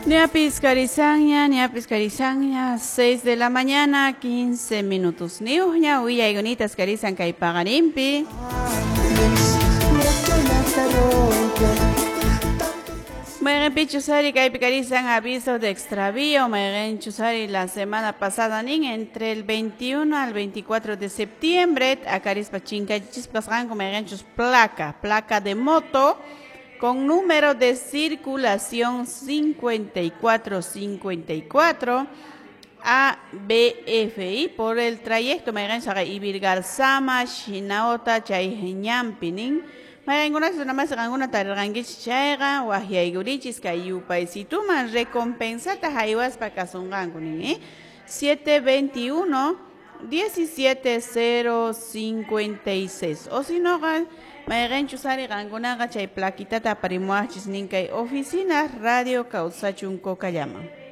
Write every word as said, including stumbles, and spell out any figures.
Ñapis karisanña, ñapis karisanña, seis de la mañana, quince minutos. Niuña, willayunitas karisan kay paqarinpi. Mayqinpichus ari kaypi karisan aviso de extravío, mayqinchus ari la semana pasada nin entre el veintiuno al veinticuatro de septiembre, akarispa chinkachispa kasqanku mayqinchus placa, placa de moto con número de circulación cincuenta y cuatro cincuenta y cuatro A B F I por el trayecto mayqinchus Ivirgarzama, Shinaota, Chayñampi nin. Mayqinkunachus runamas qankuna tarirqankichis chayqa waqyaykurichis kay yupaysituman recompensata haywaspa kasunqanku nin, ¿eh? siete veintiuno diecisiete cero cincuenta y seis. O si no, mayqinchus ari qankunaqa chay plaquitata aparimuwaqchis nin kay oficina Radio Kawsachun Cocallama.